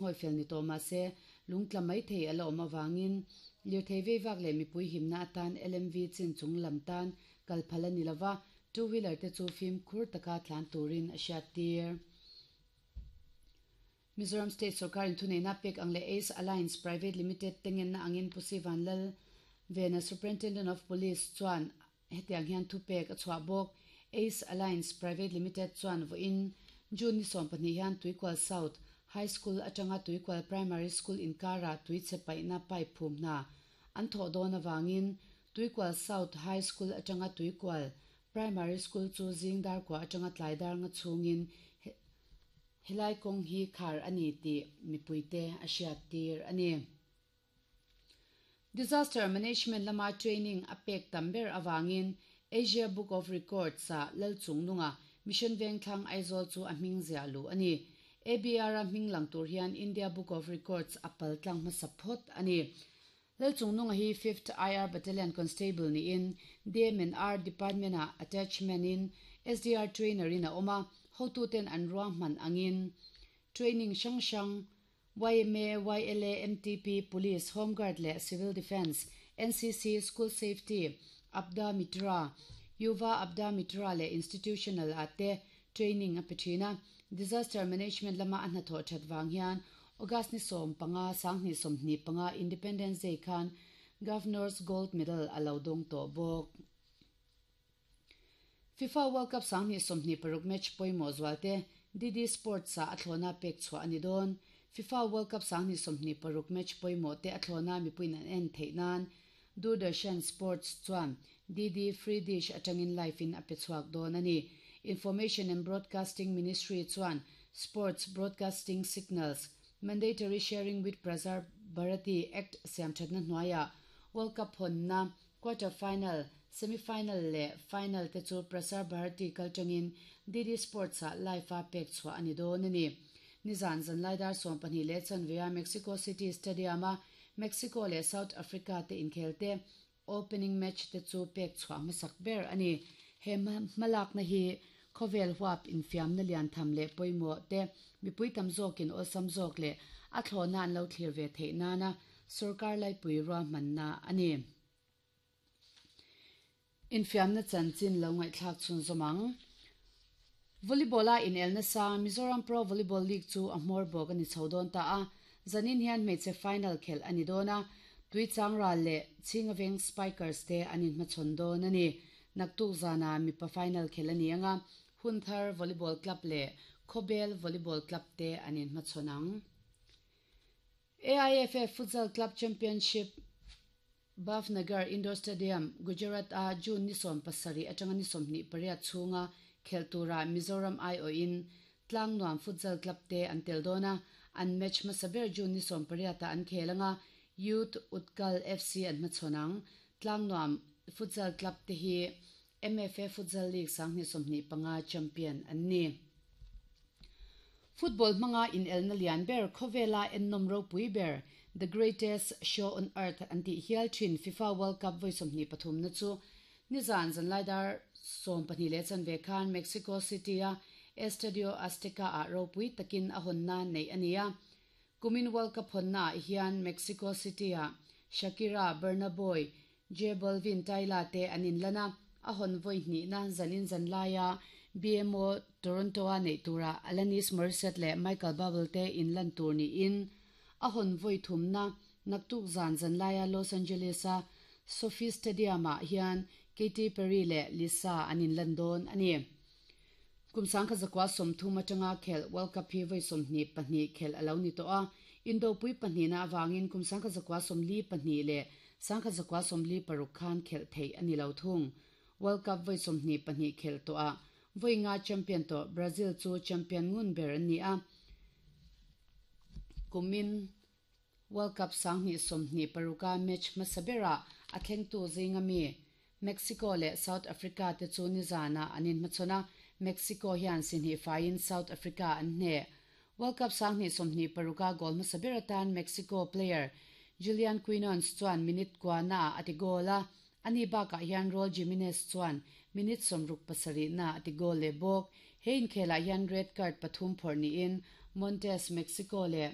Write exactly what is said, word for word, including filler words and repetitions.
Hawi fel ni tawh mah se lung tla mai thei a la awm avangin lirthei vei vak leh mipui himna atan L M V chin chung lam tan kal phal a ni lova, two wheeler te chu fimkhur taka tlan turin a hriat tir. Mizoram State Sorkar in thuneihna pek ang leh Ace Alliance Private Limited tengenna angin Pu Sivan Lal Vena Superintendent of Police chuan hetiang hian thu pek a chhuah bawk. Ace Alliance Private Limited chuan vawiin June ni sawm pahnih hian Tuikual South High School atanga Tuikual Primary School inkara tuichhe paihna pipe phum hna an thawh dawn avangin Tuikual South High School atanga Tuikual Primary School chu zing dar kua atanga tlai dar nga chhungin helai kawng hi khar a ni tih mipuite a hriat tir a ni. Disaster Management lama training a pek tam ber awangin Asia Book of Records ah lal chung nunga Mission Vengthlang Aizawl chu a hming ziah lu a ni. A B R a hming lang tur hian India Book of Records a pal tlang hmasa phawt a ni. Lal chung nunga hi fifth I R Battalion Constable niin D M and R Department ah attachment in S D R trainer in a awm a, hotuten an ruang hman angin training hrang hrang Y M A, Y L A, M T P, Police, Home Guard leh Civil Defence, N C C, School Safety, Aapda Mitra, Yuva Aapda Mitra leh Institutional ah te training a pe thin a. Disaster Management lama a hnathawh that wang hian August ni sawm panga sanghnih sawmhnih panga Independence Day khan Governor's Gold Medal a lo dawng tawh bawk. FIFA World Cup sanghnih sawmhnih paruk match pawimawh zualte D D Sports ah a thlawna pek chhuah a ni dawn. FIFA World Cup sanghnih sawmhnih paruk match pawimawh te a thlawna mipuiin an en theih nan Doordarshan Sports chuan D D Free Dish atangin live in a pe chhuak dawn a ni. Information and Broadcasting Ministry chuan Sports Broadcasting Signals Mandatory Sharing with Prasar Bharati Act siam thatna hnuaiah World Cup hawnna quarter final, semi final leh final te chu Prasar Bharati kaltangin D D Sports ah live a pek chhuah a ni dawn a ni. Nizan zanlai dar sawm pahnih leh chanvea Mexico City Stadium a Mexico leh South Africa te inkhel te opening match te chu pek chhuah hmasak ber a ni. He hmalakna hi khawvel huap infiamna lian tham leh pawimawh te mipui tam zawkin awlsam zawk leh a thlawhna an lo thlir ve theih nana sarkar laipui rua hmanna a ni. Infiamna chanchin lo ngaihthlak chhun zawmang. Volleyball a in elna sang Mizoram Pro Volleyball League chu a hmawr bawk a ni chho dawn ta a. Zanin hian hmeichhe final khel a ni dawn a. Tui changra leh Chingaveng Spikers te an inhmachhawn dawn a ni. Naktuk zana mipa final khel a ni anga Hunthar Volleyball Club leh Khawbel Volleyball Club te an inhmachhawn ang. A I F F Futsal Club Championship Bhavnagar Indoor Stadium, Gujarat a June ni sawm pasarih atanga ni sawmhnih pariat chhunga khel tura Mizoram I O in Tlang Nuam Futsal Club te an tel dawn a. An match hmasa ber June ni sawm pariata an khel anga Youth Utkal F C an hmachhawn ang. Tlang Nuam Futsal Club te hi M F A Futsal League sanghnih sawmhnih panga champion an ni. Football hmanga in elna lian ber khawvela ennom ropui ber The Greatest Show on Earth an tih hial thin FIFA World Cup vawi sawmhnih pathum na chu nizan zanlai dar sawm pahnih leh chanve khan Mexico City a Estadio Azteca ah ropui takin a hawnna nei a ni a. Kumin World Cup hawnna ah hian Mexico City ah Shakira, Burna Boy, J Balvin, Tyla te an inlan a. A hawn vawi hnihna zanin zanlaia B M O Toronto a nei tura Alanis Morissette leh Michael Bublé te inlan tur niin a hawn vawi thumna naktuk zan zanlaia Los Angeles a SoFi Stadium ah hian Katy Perry leh Lisa an inlan dawn a ni. Kumsang kha zakwa sawmthum atanga khel World Cup hi vawi sawmhnih pahnih khel a lo ni tawh a. Indopui pahnih na awangin kumsang kha zakwa sawmli pahnih leh sangkha zakwa sawmli paruk khan khel thei a ni lo thung. World Cup vawi sawmhnih pahnih khel tawh a vawi nga champion tawh Brazil chu champion ngun ber an ni a. Kumin World Cup sanghnih sawmhnih paruka match hmasa berah a thlengtu zinga mi Mexico leh South Africa te chu nizana an inhmachhawn a. Mexico hian sinhnih faiin South Africa an hne. World Cup sanghnih sawmhnih paruka goal hmasa ber atan Mexico player Julian Quinones chuan minute kuana a ti goal a. Ani bakah hian Raul Jimenez chuan minute sawmruk pasarih na a ti goal leh bawk. He inkhelah hian red card pathum phawrh niin Montes Mexico leh